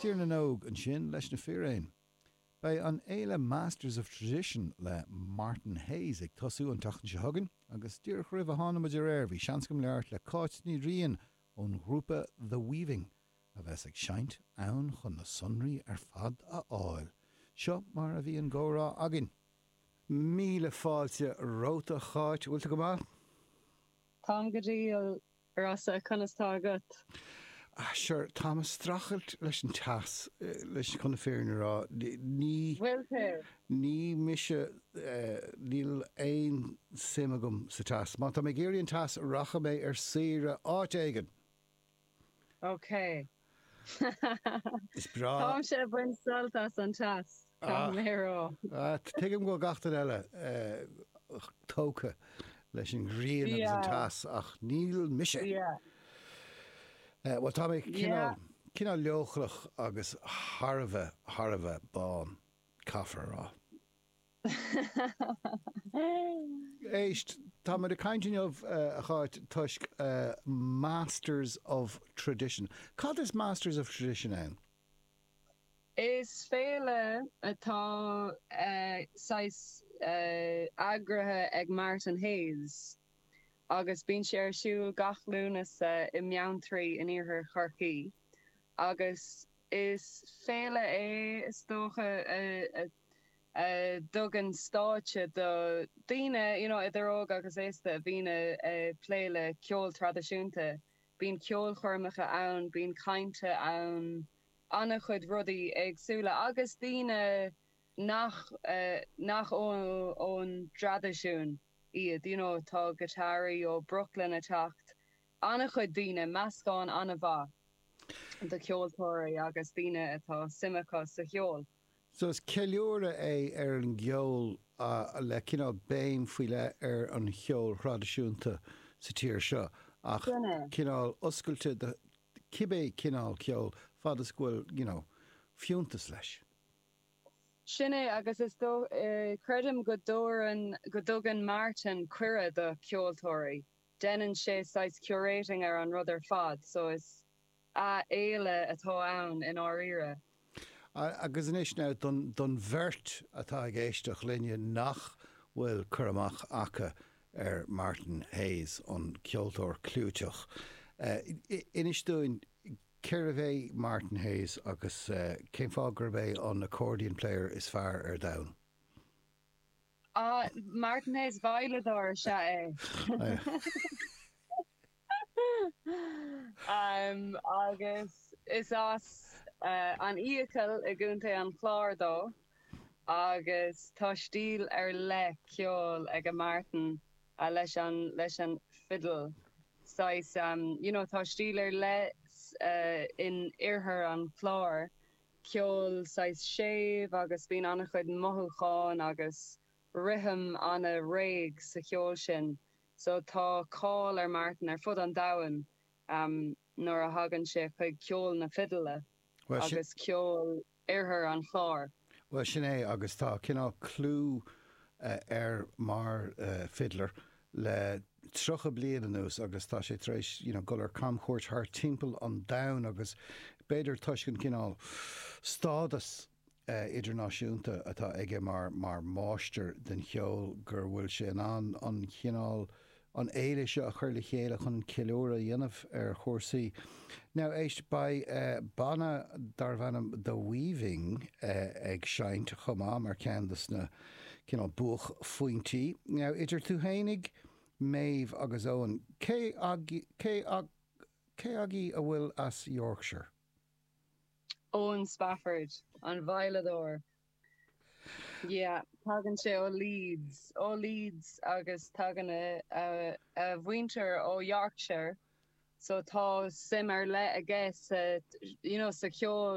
Tír na nÓg ansin leis na Fíréin. Beidh an fhéile Masters of Tradition le Martin Hayes ag tosú an tseachtain seo chugainn agus díreach roimh a tháinig muid ar aer bhí seans agam labhairt le Cáit Ní Riain ón ghrúpa The Weaving a bheas ag seinnt ann chun na sonraí ar fad a fháil. Seo mar a bhí an gcomhrá againn. Míle fáilte romhat a Cháit, bhfuil tú go maith? Táim go diail, a Rossa, conas tá agat? Ah, sure, táim ag streachailt leis an teas, leis, chun na fírinne a rá. Ní, Bhfuil tú? ní mise, níl aon suim agam sa teas. Má tá mé ag iarraidh an teas, rachaidh mé ar saoire áit éigin! Ok. Is breá. Táimse ag baint sult as an teas, caithfidh mé a rá. Tuigim go bhfuil gach duine eile tógtha leis an ghrian agus an teas, ach níl mise. Bhuel, tá mé cineál, cineál leochaileach agus thar a bheith, thar a bheith bán, caithfear a rá. Éist, tá muid ag caint inniu, a Cháit, toisc Masters of Tradition. Cad is Masters of Tradition ann? Is féile atá saghas eagraithe ag Martin Hayes agus bíonn sé ar siúl gach Lúnasa i mBeanntraí in iarthar Chorcaí agus is féile é is dócha a a dtugann stáitse do daoine, you know, idir óg agus aosta a bhíonn ag plé le ceol traidisiúnta. Bíonn ceolchoirmeacha ann, bíonn cainte ann, an-chuid rudaí éagsúla agus daoine nach, nach ón dtraidisiún iad, you know, tá giotáraí ó Brooklyn ag teacht, an-chuid daoine, meascán an-mhaith de cheoltóirí agus daoine atá suim acu sa cheol. So is ceiliúradh é ar an gceol le cineál béim faoi leith ar an cheol thraidisiúnta sa tír seo ach cineál oscailte do cibé cineál ceoil fad is go bhfuil, you know, fiúntas leis. Sin é agus is dóigh, creidim go dtabharann, go dtugann Martin cuireadh do cheoltóirí. Deineann sé saghas curating ar an rud ar fad so is, A fhéile atá ann i ndáiríre. Agus anois now don don bheirt atá ag éisteacht linne nach bhfuil cur amach acu ar Martin Hayes, an ceoltóir clúiteach, inis dúinn cérbh é Martin Hayes agus cén fáth gurb é an accordion player is fearr ar domhan? Ah, Martin Hayes, veidhleadóir is ea é. Agus is as an Fhiacail i gContae an Chláir dó agus tá stíl ar leith ceoil ag Martin leis an leis an fidil. Saghas, you know, tá stíl ar leith in oirthear an Chláir, ceol saghas séimh agus bíonn an-chuid mothúcháin agus rithim an-réidh sa cheol sin. So tá cáil ar Martin ar fud an domhain nuair a thagann sé chuig ceol na fidile agus ceol oirthear an Chláir. Bhuel, sin é, agus tá cineál clú air mar fiddler le 30 bliain anuas agus tá sé tar éis, you know, dul ar camchuairt thart timpeall an domhain agus b'fhéidir toisc an cineál stádas idirnáisiúnta atá aige mar mar mháistir den cheol gur bhfuil sé in ann an chineál an fhéile seo a chur le chéile chun ceiliúradh a dhéanamh ar chúrsaí. Now éist, beidh banna darbh ainm The Weaving ag seinnt chomh maith mar cheann de sna cineál buaicphointí. Now idir tú fhéinig, Maeve agus Eoin, cé cé cé agaibh a bhfuil as Yorkshire? Eoin Spafford, an veidhleadóir. Yeah, tagann sé ó Leeds, ó Leeds agus tagann a, a, a mhuintir ó Yorkshire so tá suim ar leith aige sa, you know, sa cheol.